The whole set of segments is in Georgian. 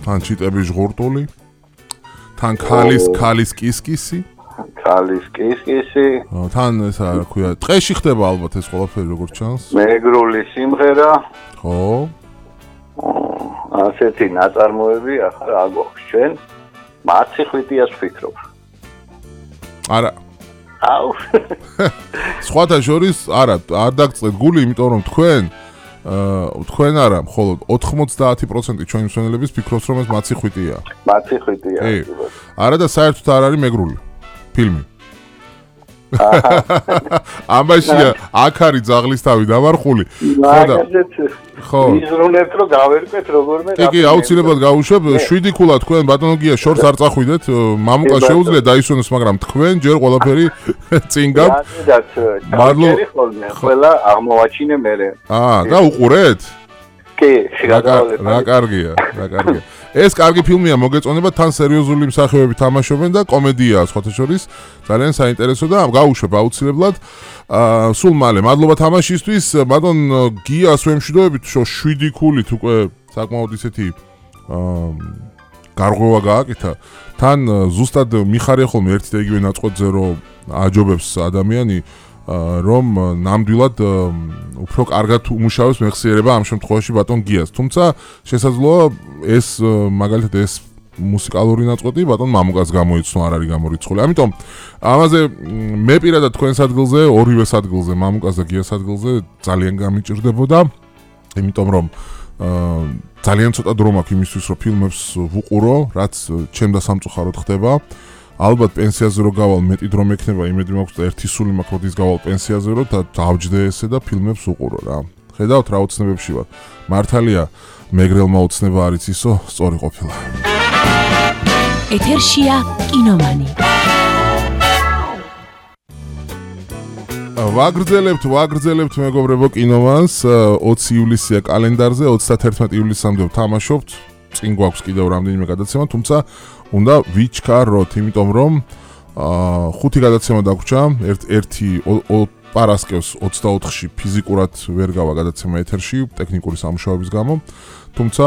თან ჩიტების ჟღურტული, თან ქალის კისკისი. ქალის კისკისი. თან ესა რა ქვია, ტყეში ხდება ალბათ ეს ყველაფერი როგორც ჩანს. მეგრული სიმღერა. ხო. ასეთი ნაწარმოები ახლა რა გვაქვს ჩვენ? მაცი ხვიტიას ვფიქრობ. არა. აუ. სხვათა შორის არა, არ დაგწყეთ გული, იმიტომ რომ თქვენ არა, მხოლოდ 90% ჩვენი მსმენელების ფიქრობს რომ ეს მაცი ხვიტია. მაცი ხვიტია. არა და საერთოდ არ არის მეგრული ფილმი. ამაშია აქ არის ძაღლისთავი დამარხული. ხო. იზრუნებთ რომ გავერკვეთ როგორმე. კი, აუცილებლად გავუშვებ. 7 ქულა თქვენ ბატონოგია შორს არ წახვიდეთ. მამუკა შეუძლია დაისვენოს, მაგრამ თქვენ ჯერ ყველაფერი წინ გაქვთ. მადლობა. ყველა აღმოვაჩინე მერე. და უყურეთ? კი, რა კარგია. ეს კარგი ფილმია, მოგეწონება, თან სერიოზული მსახიობები თამაშობენ და კომედიაა სხვათა შორის. ძალიან საინტერესო და გავუშვებ აუცილებლად. სულ მალე, მადლობა თამაშისთვის. ბატონ გიას ვემშვიდობებით, 7 ქულით უკვე საკმაოდ ისეთი გარღვევა გააკეთა. თან ზუსტად მიხარია ხოლმე ერთი და იგივე ნაწყვეტზე რომ აჯობებს ადამიანი რომ ნამდვილად უფრო კარგად უმუშავებს მეხსიერება ამ შემთხვევაში ბატონ გიას. თუმცა შესაძლოა ეს მაგალითად ეს მუსიკალური ნაწყვეტი ბატონ მამუკას გამოიცნო, არ არის გამორიცხული. ამიტომ ამაზე მე პირადად თქვენს ადგილზე, ორივეს ადგილზე, მამუკას და გიას ადგილზე ძალიან გამიჭირდებოდა, იმიტომ რომ ძალიან ცოტა დრო მაქვს იმისთვის, რომ ფილმებს ვუყურო, რაც ჩემ და სამწუხაროდ ხდება. ალბათ პენსიაზე რო გავალ მეტი დრო მექნება, იმედი მაქვს და ერთი სული მაქვს როდის გავალ პენსიაზე რო და დავჯდე ესე და ფილმებს უყურო რა. ხედავთ რა ოცნებებში ვარ. მართალია მეგრელმა ოცნება არის ისო, სწორი ყოფილა. ეთერშია კინომანი. ვაგრძელებთ მეგობრებო კინომანს. 20 ივლისია კალენდარზე, 31 ივლისამდე ვთამაშობთ. წინ გვაქვს კიდევ რამდენიმე გადაცემა, თუმცა უნდა ვიჩქაროთ, იმიტომ რომ 5 გადაცემა დაგვრჩა, ერთი პარასკევს 24-ში ფიზიკურად ვერ გავა გადაცემა ეთერში ტექნიკური სამუშაოების გამო, თუმცა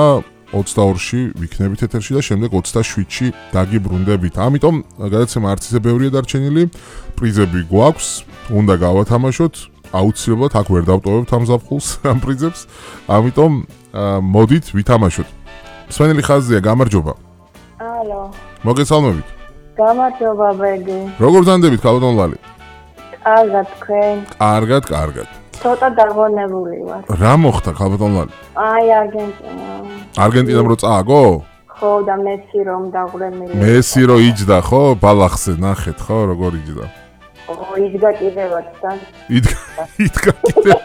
22-ში ვიქნებით ეთერში და შემდეგ 27-ში დაგიბრუნდებით. ამიტომ გადაცემა არც ისე ბევრია დარჩენილი, პრიზები გვაქვს, უნდა გავათამაშოთ, აუცილებლად აქ ვერ დავტოვებთ ამ ზაფხულს ამ პრიზებს, ამიტომ მოდით ვითამაშოთ. მსმენელი ხაზია, გამარჯობა. ალო. მოგესალმებით. გამარჯობა ბეგი. როგორ ზანდებით ქალბატონ ლალი? კარგად თქვენ. კარგად. ცოტა დაღონებული ვარ. რა მოხდა ქალბატონ ლალი? აი არგენტინა. არგენტინამ რო წააგო? ხო და მესი რომ დაღვრემილი. მესი რო იჯდა ხო? ბალახზე ნახეთ ხო როგორ იჯდა? იდგა კიდევაც და. იდგა კიდევ.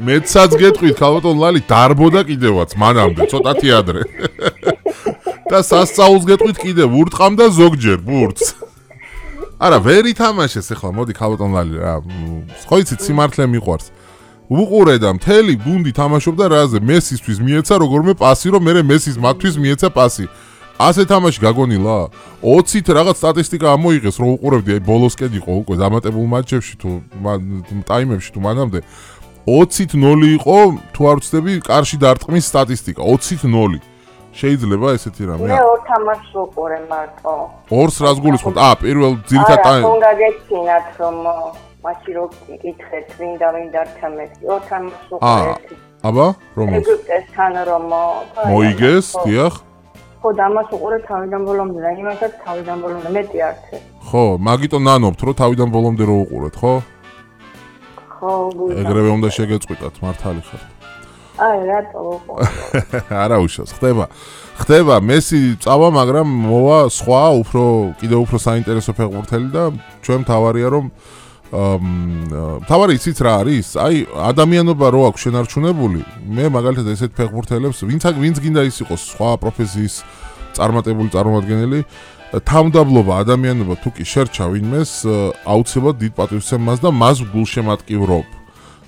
მეცაც გეტყვით ქალბატონ ლალი დარბოდა კიდევაც მანამდე ცოტათი ადრე. და სასწაულს გეტყვით კიდევ ურტყამდა ზოგჯერ ბურთს. არა ვერ ითამაშეს ახლა მოდი ქალბატონ ლალი რა. ხო იცით სიმართლე მიყვარს. უყურე და მთელი გუნდი თამაშობდა რაზე მესისთვის მიეცა როგორმე პასი რომ მე მესის მათთვის მიეცა პასი. ასე თამაში გაგონილა 20-ით რაღაც სტატისტიკა ამოიღეს რომ უყურებდი აი ბოლოსკენ იყო უკვე დამატებულ მატჩებში თუ ტაიმებში თუ მანამდე 20-ით 0 იყო თუ არ ვცდები კარში დარტყმის სტატისტიკა 20-ით 0 შეიძლება ესეთი რამე მე ორ თამაშს ვუყურე მარტო ორს რას გულისხმობ? პირველ ძირითად არა უნდა გეცინათ რომ მაშინ რო იკითხეთ ვინ დარჩამეთი ორ თამაშს ვუყურე აბა რომელ ეგვიპტესთან რომ მოიგეს დიახ ხო და ამას უყურე თავიდან ბოლომდე და იმასაც თავიდან ბოლომდე მეტი არც ხო მაგიტომ ნანობთ რომ თავიდან ბოლომდე რო უყურეთ ხო ხო ეგრევე უნდა შეგეწყვიტათ მართალი ხართ აი რატო უყურე არა უშავს ხდება მესი წავა მაგრამ მოვა სხვა კიდევ უფრო საინტერესო ფეხბურთელი და ჩვენ თავარია რომ თავარი იცით რა არის? აი ადამიანობა რო აქვს შენარჩუნებული, მე მაგალითად ესეთ ფეხბურთელებს, ვინც გინდა ის იყოს სხვა პროფესიის წარმომადგენელი, თავმდაბლობა ადამიანობა თუ კი შერჩა ვინმეს, აუცილებლად დიდ პატივს ემას და მას გულშემატკივრობ.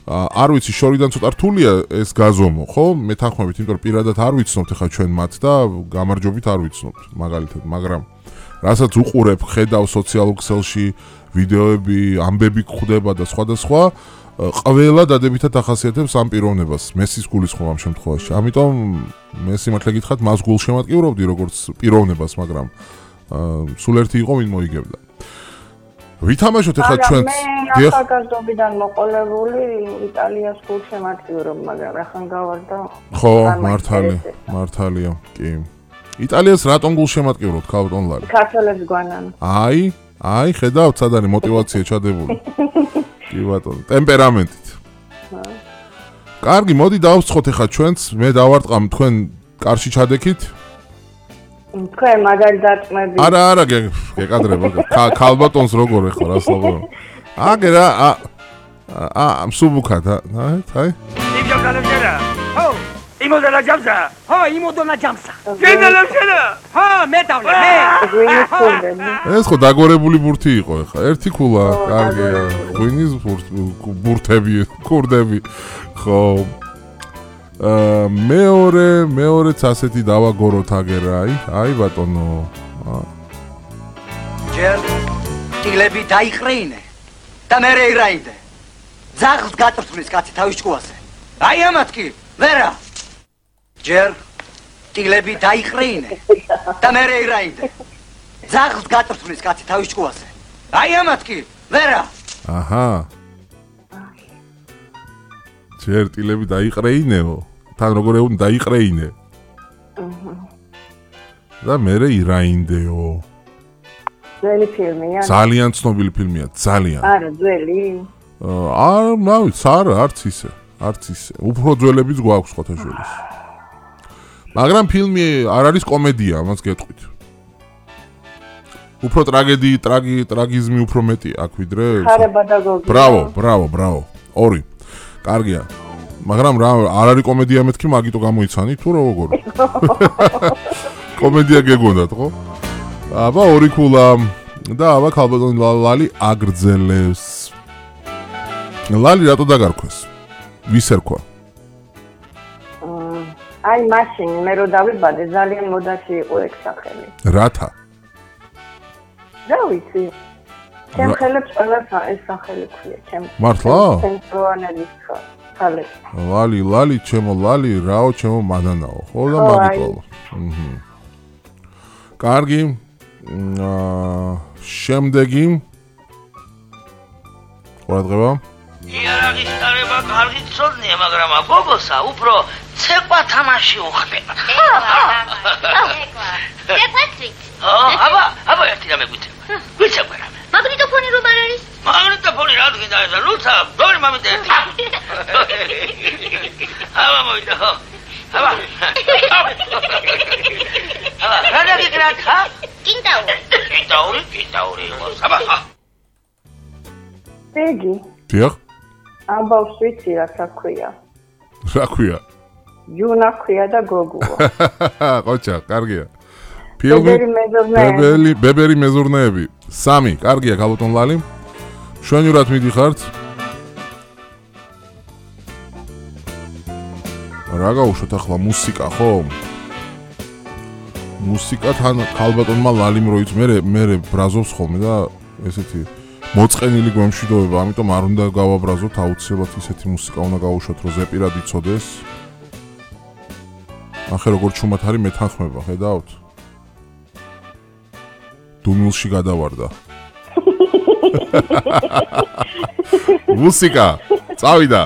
არ ვიცი, შორიდან ცოტა რთულია ეს გაზომო, ხო? მეთანხმებით, იმიტომ რომ პირადად არ ვიცნობთ ახლა ჩვენ მათ და გამარჯვებით არ ვიცნობთ, მაგალითად, მაგრამ რასაც უყურებ, ხედავ სოციალურ ქსელში ვიდეოები, ამბები გვხვდება და სხვა. ყველა დადებითად ახასიათებს ამ პიროვნებას, მესის გულისხმობ ამ შემთხვევაში. ამიტომ მე სიმართლე გითხრათ, მას გულშემატკივრობდი როგორც პიროვნებას, მაგრამ სულ ერთი იყო ვინ მოიგებდა. ვითამაშოთ ახლა ჩვენც. მე ახალგაზრდობიდან მოყოლებული იტალიას გულშემატკივრობ, მაგრამ ახან გავარდა. ხო, მართალია, კი. იტალიას რატომ გულშემატკივრობთ, ქალბატონ ლალი? ქართველებს გვანან. აი, ხედავთ, სად არის мотиваცია ჩადებული. კი ბატონო, ტემპერამენტით. კარგი, მოდი დავსწროთ ახლა ჩვენც, მე დავარტყამ თქვენ კარში ჩადექით. თქვენ მაგარი დაწმები. არა, გეკადრება. ქალბატონს როგორ ეხლა რას ლაპარაკობ? აგე რა, მსუბუქად, აი. იმჯა კალენდარა. ხო, იმოდანა ჯამსა. ხო, იმოდანა ჯამსა. გენდალაშენა. ხო, მე დავლე, მე. ეს ხო დაგორებული ბურთი იყო ეხლა. ერთი ქულა, კარგია. ღვინის ბურთები, კურდები. ხო. მეორეც ასეთი დავაგოროთ აგერა, აი ბატონო. ჯერ ტილები დაიყრინე და მე რეირაიდე. ძაღლს გაწვრთნის კაცი თავის ჭკუაზე. აი ამათ კი, ვერა. ჯერ ტილები დაიყრინე და მე რეირაიდე. ძაღლს გაწვრთნის კაცი თავის ჭკუაზე. აი ამათ კი, ვერა. აჰა. ჯერ ტილები დაიყრეინეო. თან როგორ ეუბნ დაიყრეინე. და მე ირაინდეო. ძველი ფილმია? ძალიან ცნობილი ფილმია, ძალიან. არა, ძველი? არც ისე. უფრო ძველებიც გვაქვს ხოთაშვილის. მაგრამ ფილმი არ არის კომედია, ამას გეტყვით. უფრო ტრაგიზმი უფრო მეტი აქ ვიდრე. ხარება და გოგი. ბრავო. ორი. კარგია. მაგრამ რა არ არის კომედია მეთქი, მაგიტო გამოიცანი თუ როგორ? კომედია გეგონდათ, ხო? აბა ორი ქულა და აბა ქალბატონ ლალი აგრძელებს. ლალი რატო დაგარქვეს? ვის ერქვა? აი მაშინ მე რო დავიბადე ძალიან მოდაში იყო ეგ სახელი. რათა? რა ვიცი. ჩემ ხელებს ყველა ეს სახელი ქვია, ჩემ. მართლა? ცენტრალურ ხალე. ლალი, ჩემო ლალი, რაო, ჩემო მანანაო. ხო და მაგიტო. კარგი. შემდეგი. ყურადღება. იარაღის დარება კარგი ცოდნია, მაგრამ გოგოსა უფრო ცეკვა თამაში უხდება. პეტრიკ. აბა ერთი რამე გვითება. ვიცეკვე რამე. მაგნიტოფონი რომ არ არის? მაგნიტოფონი რა თქვი და ეს ლუცა, დორი მამით ერთი. აბა მოვიდა ხო? აბა. რა დაგიკრათ ხა? კინტაური იყოს. აბა. ეგი. დიახ. ამბავს ვიცი რა საქვია. რა ქვია? ჯუნა ქვია და გოგუა. ყოჩა, კარგია. ბებერი მეზურნეები. 3, კარგია ქალბატონ ლალი. შვენივრად მიდიხართ. რა გაუშვათ ახლა მუსიკა, ხო? მუსიკა თან ქალბატონმა ლალიმ როიც მე ბრაზობს ხოლმე და ესეთი მოწყენილი გვემშვიდობება, ამიტომ არ უნდა გავაბრაზოთ, აუცილებლად ისეთი მუსიკა უნდა გავუშვათ, რომ ზეპირად იცოდეს. ახე როგორ ჩუმად არის მეთანხმება, ხედავთ? დუმილში გადავარდა. მუსიკა, წავიდა.